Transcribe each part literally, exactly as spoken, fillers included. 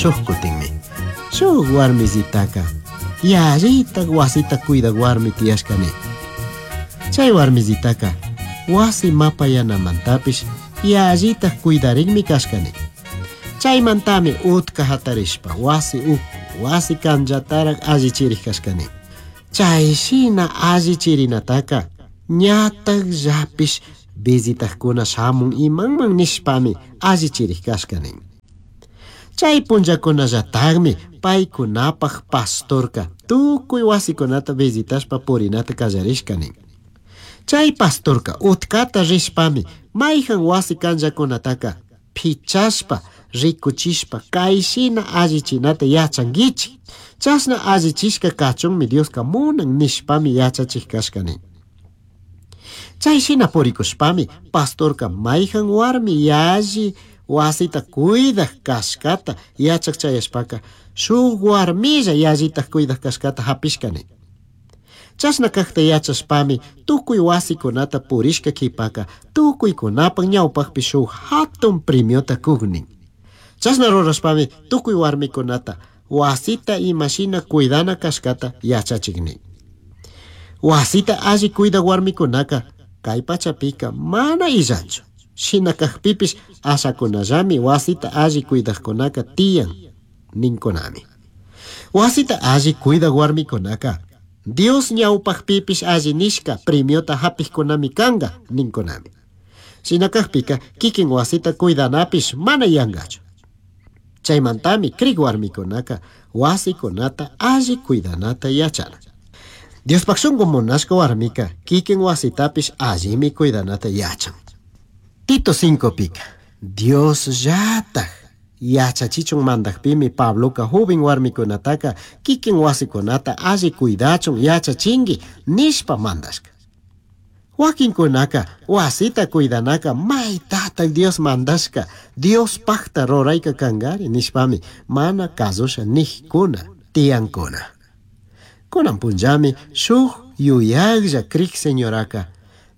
Shuj kutinmi shuj warmisitaka yallitak wasita cuidak warmi tiyashkani. Chay warmisitaka wasi mapayanamantapish yallitak cuidarikmi kashkani. Chaymantami utka hatarishpa wasi uku wasi kanllatarak allichirik kashkani. Chayshina allichirinataka ñatakllapish visitakuna shamun imanman nishpami allichirik kashkani. Chay punllakunallatakmi paykunapaq pastorka tukuy wasikunata visitashpa purinata kallarishkani. Chay pastorka utkata rishpami mayhan wasi kanllakunataka pichashpa rikuchishpa kayshina allichinata yachankichik. Chashna allichishka kachunmi Dioska munan nishpami yachachik kashkani. Chayshina purikushpami pastorka mayhan warmi yalli wasita cuidak kashkata yachak chayashpaka shuk warmilla yallitak cuidak kashkata hapishkani. Chashna kakta yachashpami tukuy wasikunata purishka kipaka tukuykunapak ñawpakpi shuk hatun premiota kugnin. Chashna rurashpami tukuy warmikunata wasita imashina cuidana kashkata yachachiknin. Wasita alli cuidak warmikunaka kay pachapika mana illanchu. Shina kakpipish ashakunallami wasita alli cuidakkunaka tiyan ninkunami. Wasita alli cuidak warmikunaka Dios ñawpakpipish alli nishka premiota hapikkunami kanka ninkunami. Shina kakpika kikin wasita cuidanapish mana yankachu. Chaymantami krik warmikunaka wasikunata alli cuidanata yachana. Diospaq shunku munashka warmika kikin wasitapish allimi cuidanata yachan. Tito cinco pika Dios llatak yachachichun mandakpimi Pabloka joven warmikunataka kikin wasikunata alli cuidachun yachachinki nishpa mandashka. Wakinkunaka wasita cuidanaka maytatak Dios mandashka Diospakta rurayka kankari nishpami mana kasusha nikkuna tiyankuna. Kunan punllami shuk yuyaklla krik señoraka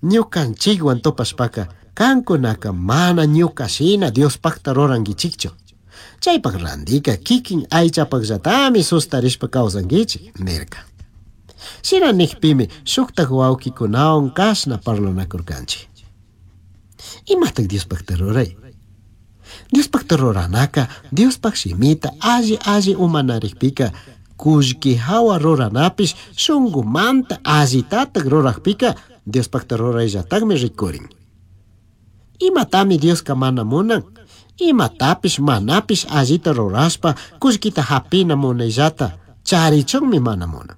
ñukanchikwan tupashpaka kankunaka mana ñukashina Diospakta rurankichikchu. Chaypak randika kikin aychapakllatami sustarishpa kawsankichik nirka. Shina nikpimi shuktak wawkikunawan kashna parlanakurkanchik. Imatak Diospakta ruray? Diospakta ruranaka Diospak shimita alli alli umanarikpika kullki hawa ruranapish shunkumanta allitatak rurakpika Diospakta rurayllatakmi rikurin. Imatami Dioska mana munan? Imatapish manapish allita rurashpa kullkita hapina munayllata charichunmi mana munan.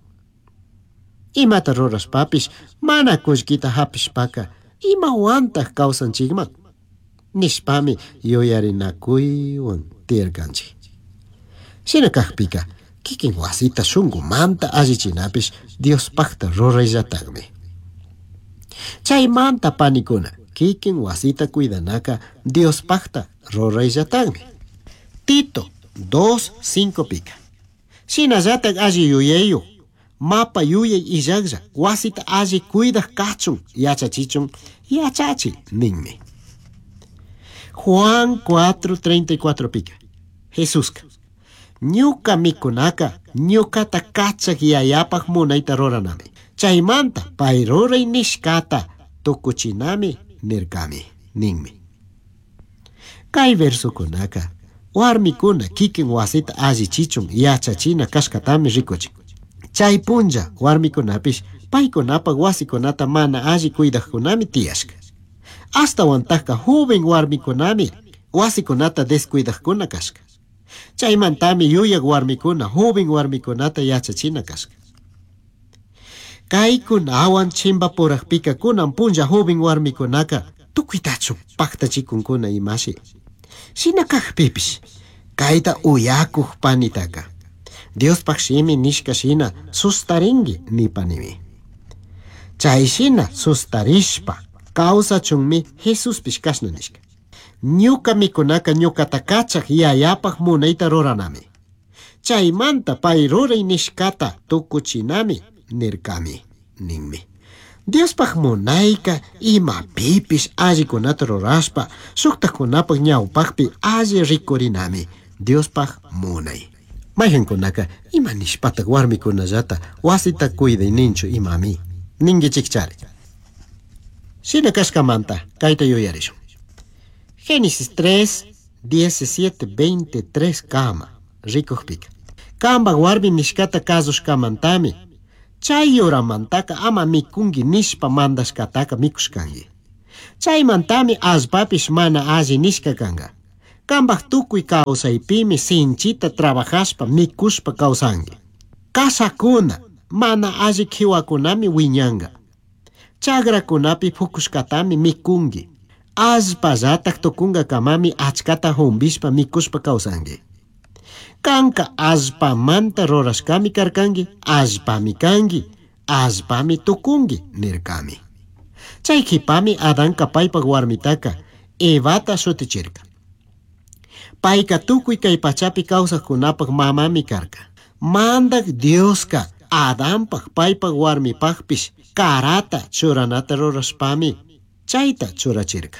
Imata rurashpapish mana kullkita hapishpaka imawantak kawsanchikman nishpami yuyarinakuywan tiyarkanchik. Shina kakpika kikin wasita shunkumanta allichinapish Diospakta rurayllatakmi. Chaymanta panikuna kikin wasita cuidanaka Diospakta rurayllatakmi. Tito dos cinco pika. Shinallatak alli yuyayuq mapa yuyay illaklla wasita alli cuidak kachun yachachichun yachachi ninmi. Juan cuatro treinta y cuatro pika. Jesuska ñuka mikunaka ñukata kachak yayapak munayta ruranami. Chaymanta pay ruray nishkata tukuchinami nirkami ninmi. Kay versukunaka warmikuna kikin wasita allichichun yachachina kashkatami rikuchin. Chay punlla warmikunapish paykunapak wasikunata mana alli cuidakkunami tiyashka. Ashtawantakka joven warmikunami wasikunata descuidakkuna kashka. Chaymantami yuyak warmikuna joven warmikunata yachachina kashka. Kaykunawan chimpapurakpika kunan punlla joven warmikunaka tukuytachu paktachikunkuna imashi. Shina kakpipish kayta uyakuq panitaka Diospaq shimi nishka shina sustarinki nipanimi. Chay shina sustarishpa kawsachunmi Jesuspish kashna nishka. Ñuka mikunaka ñukata kachak yayapaq munayta ruranami. Chaymanta pay ruray nishkata tukuchinami nirkami ninmi. Diospaq munayka imapipish allikunata rurashpa shuktakunapaq ñawpaqpi alli rikurinami. Diospaj munai. Mayqankunaka ima nishpataq warmikunallata wasita cuiday ninchu imami ninkichikchari. Shina kashkamanta kayta yuyarishun. Génesis tres, diecisiete, veintitrés kama rikukpika. Kambaj warmi nishkata kasushkamantami chay yuramantaka ama mikunki nishpa mandashkataka mikushkanki. Chaymantami allpapish mana alli nishka kanka. Kambaj tukuy kawsaypimi sinchita trabajashpa mikushpa kawsanki. Kashakuna mana alli kiwakunami wiñanka. Chakrakunapi pukushkatami mikunki. Allpallatak tukunkakamami achkata humbishpa mikushpa kawsanki. Kanka allpamanta rurashkami karkanki, allpami kanki, allpami tukunki nirkami. Chay qhipami Adanka paypaq warmitaka Evata shutichirka. Payka tukuy kay pachapi kawsaqkunapaq mamami karka. Mandak Dioska Adanpaq paypaq warmipaqpish karata churanata rurashpami chayta churachirka.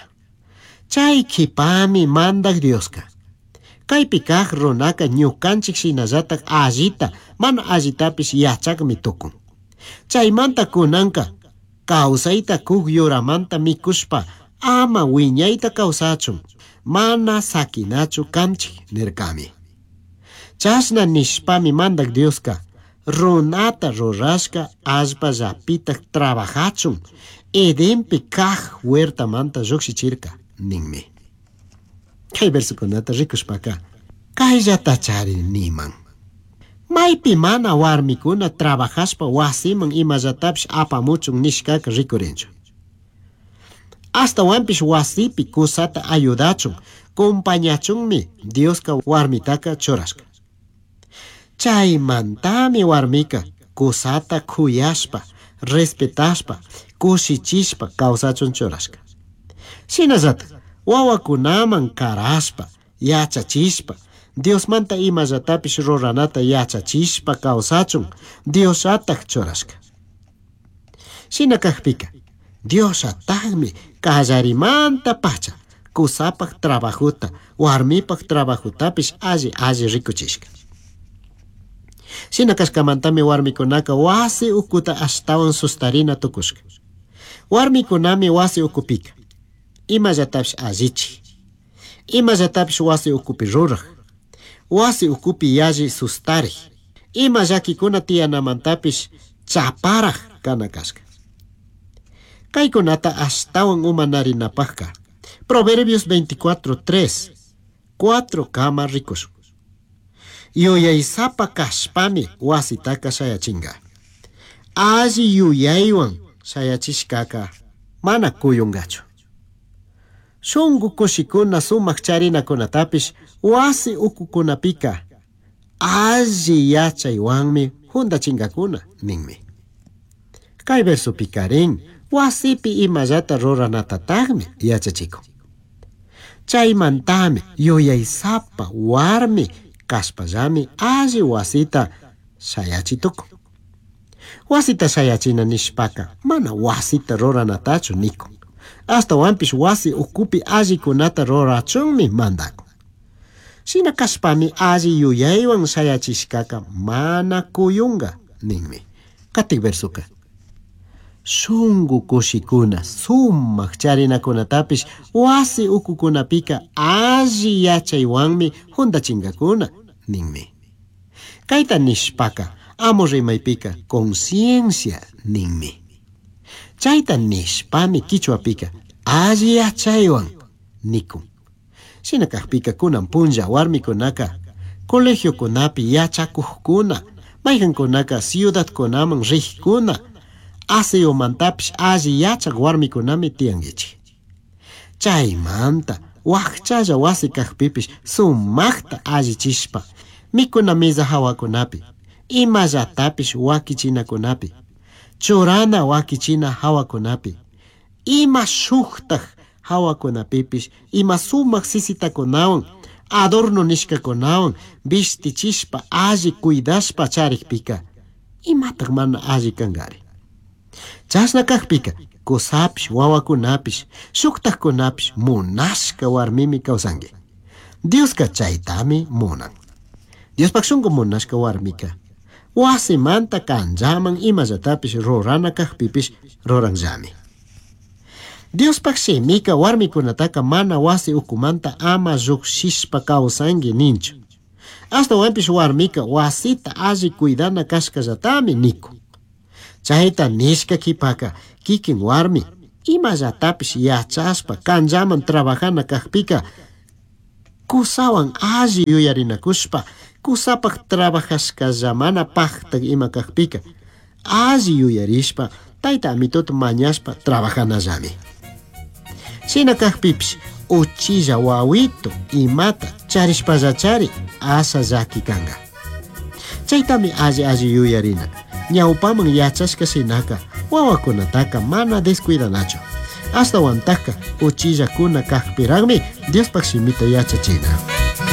Chay qhipami mandak Dioska kaypi kaq runaka ñukanchik shinallatak allita mana allitapish yachakmi tukun. Chaymanta kunanka kawsayta kuk yuramanta mikushpa ama wiñayta kawsachun mana sakinachu kanchik nirkami. Chashna nishpami mandak Dioska runata rurashka allpallapitak trabajachun Edenpi kaq huertamanta llukshichirka ninmi. Kay versukunata rikushpaka kayllata chari niman. Maypi mana warmikuna trabajashpa wasiman imallatapish apamuchun nishkaka rikurinchu. Ashtawanpish wasipi kusata ayudachun compañachunmi Dioska warmitaka churashka. Chaymantami warmika kusata kuyashpa, respetashpa, kushichishpa kawsachun churashka. Shinallatak wawakunaman karashpa, yachachishpa, Diosmanta imallatapish ruranata yachachishpa kawsachun Diosllatak churashka. Shina kakpika Diosllatakmi kallarimanta pacha kusapaq trabajuta, warmipaq trabajutapish alli alli rikuchishka. Shina kashkamantami warmikunaka wasi ukuta ashtawan sustarina tukushka. Warmikunami wasi ukupika imallatapish allichik, imallatapish wasi ukupi ruraj, wasi ukupi yalli sustarik, ima llakikuna tiyanamantapish chaparaj kana kashka. Kaykunata ashtawan umanarinapajka Proverbios veinticuatro, tres, cuatro kama rikushun. Yuyaysapa kashpami wasitaka shayachinka. Alli yuyaywan shayachishkaka mana kuyunkachu. Shunku kushikuna sumak charinakunatapish wasi ukukunapika alli yachaywanmi juntachinkakuna ninmi. Kay versupikarin wasipi imallata ruranatataqmi yachachikun. Chaymantami yuyaysapa warmi kashpallami alli wasita shayachitukun. Wasita shayachina nishpaka mana wasita ruranatachu nikun. Ashtawanpish wasi ukupi allikunata rurachunmi mandakun. Shina kashpami alli yuyaywan shayachishkaka mana kuyunka ninmi. Katik versuka. Shunku kushikuna sumak charinakunatapish wasi ukukunapika alli yachaywanmi juntachinkakuna ninmi. Kayta nishpaka amo rimaypika conciencia ninmi. Chayta nishpami kichwapika alli yachaywan nikun. Shina kakpika kunan punlla warmikunaka colegiokunapi yachakujkuna, mayqankunaka ciudadkunaman rijkuna, aseomantapish alli yachak warmikunami tiyankichik. Chaymanta wakchalla wasi kakpipish sumakta allichishpa mikuna mesa hawakunapi, imallatapish wakichinakunapi, churana wakichina hawakunapi, ima shuktak hawakunapipish, ima sumak sisitakunawan, adorno nishkakunawan vishtichishpa alli cuidashpa charikpika, imatak mana alli kankari. Chashna kakpika kusapish, wawakunapish, shuktakkunapish munashka warmimi kawsanki. Dioska chaytami munan. Diospaj shunku munashka warmika wasimanta kanllaman imallatapish rurana kajpipish ruranllami. Diospaj shimika warmikunataka mana wasi ukumanta ama llujshishpa kawsanki ninchu. Ashtawanpish warmika wasita alli cuidana kashkallatami nikun. Chayta nishka kipaka kikin warmi imallatapish yachashpa kanllaman trabajana kajpika kusawan alli yuyarinakushpa kusapaj trabajashkallamana pajtak ima kajpika alli yuyarishpa tayta amituta mañashpa trabajanallami. Shina kajpipish uchilla wawito imata charishpallachari asha llaki kanka. Chaytami alli alli yuyarina. Ñawpaman yachashka shinaka wawakunataka mana descuidanachu. Ashtawantaka uchillakuna kajpiraqmi Diospaj shimita yachachina.